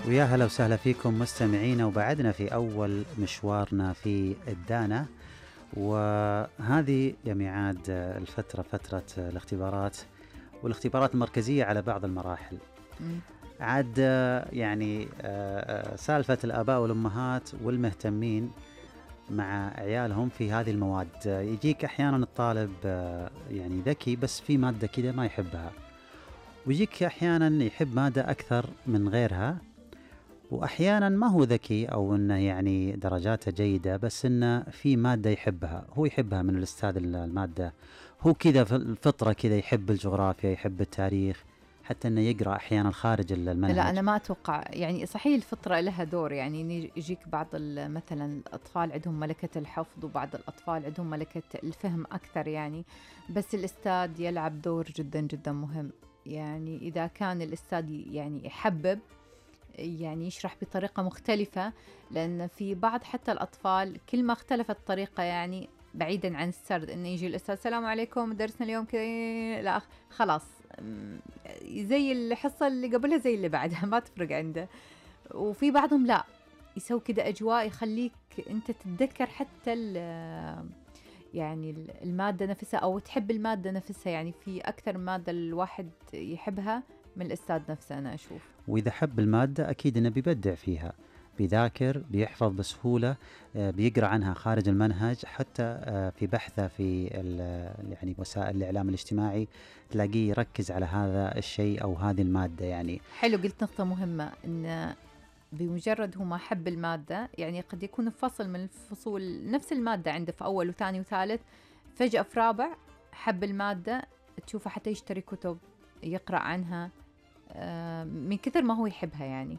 ويا هلا وسهلا فيكم مستمعينا، وبعدنا في أول مشوارنا في الدانا، وهذه يا ميعاد الفترة فترة الاختبارات والاختبارات المركزية على بعض المراحل. عاد يعني سالفة الآباء والأمهات والمهتمين مع عيالهم في هذه المواد. يجيك أحيانا الطالب يعني ذكي بس في مادة كده ما يحبها، ويجيك أحيانا يحب مادة أكثر من غيرها، وأحيانا ما هو ذكي أو أنه يعني درجاته جيدة بس أنه في مادة يحبها، هو يحبها من الأستاذ المادة، هو كذا في الفطرة كذا يحب الجغرافيا، يحب التاريخ، حتى أنه يقرأ أحيانا خارج المنهج. لا أنا ما أتوقع، يعني صحيح الفطرة لها دور، يعني يجيك بعض مثلا الأطفال عندهم ملكة الحفظ وبعض الأطفال عندهم ملكة الفهم أكثر يعني، بس الأستاذ يلعب دور جدا جدا مهم. يعني إذا كان الأستاذ يعني يحبب، يعني يشرح بطريقة مختلفة، لأن في بعض حتى الأطفال كل ما اختلفت الطريقة، يعني بعيدا عن السرد إنه يجي الأستاذ السلام عليكم درسنا اليوم كذا، لا خلاص زي الحصة اللي قبلها زي اللي بعدها ما تفرق عنده. وفي بعضهم لا يسوي كده أجواء يخليك أنت تتذكر حتى يعني المادة نفسها أو تحب المادة نفسها، يعني في أكثر مادة الواحد يحبها من الأستاذ نفسه أنا أشوف. وإذا حب المادة أكيد إنه بيبدع فيها، بيذاكر، بيحفظ بسهولة، بيقرأ عنها خارج المنهج، حتى في بحثه في يعني وسائل الإعلام الاجتماعي تلاقيه يركز على هذا الشيء أو هذه المادة. يعني حلو، قلت نقطة مهمة، إن بمجرد هو ما حب المادة، يعني قد يكون في فصل من الفصول نفس المادة عنده في أول وثاني وثالث، فجأة في رابع حب المادة، تشوفه حتى يشتري كتب يقرأ عنها من كثر ما هو يحبها يعني.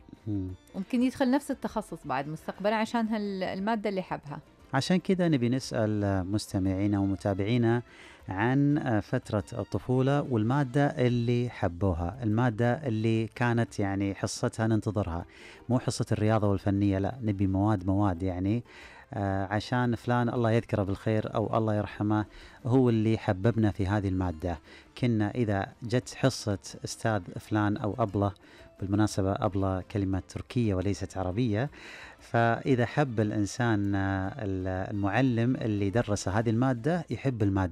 ممكن يدخل نفس التخصص بعد مستقبلا عشان المادة اللي حبها. عشان كذا نبي نسأل مستمعينا ومتابعينا عن فترة الطفولة والمادة اللي حبوها، المادة اللي كانت يعني حصتها ننتظرها، مو حصة الرياضة والفنية، لا نبي مواد يعني عشان فلان الله يذكره بالخير أو الله يرحمه هو اللي حببنا في هذه المادة. كنا إذا جت حصة أستاذ فلان أو أبلة، بالمناسبة أبلة كلمة تركية وليست عربية، فإذا حب الإنسان المعلم اللي درس هذه المادة يحب المادة.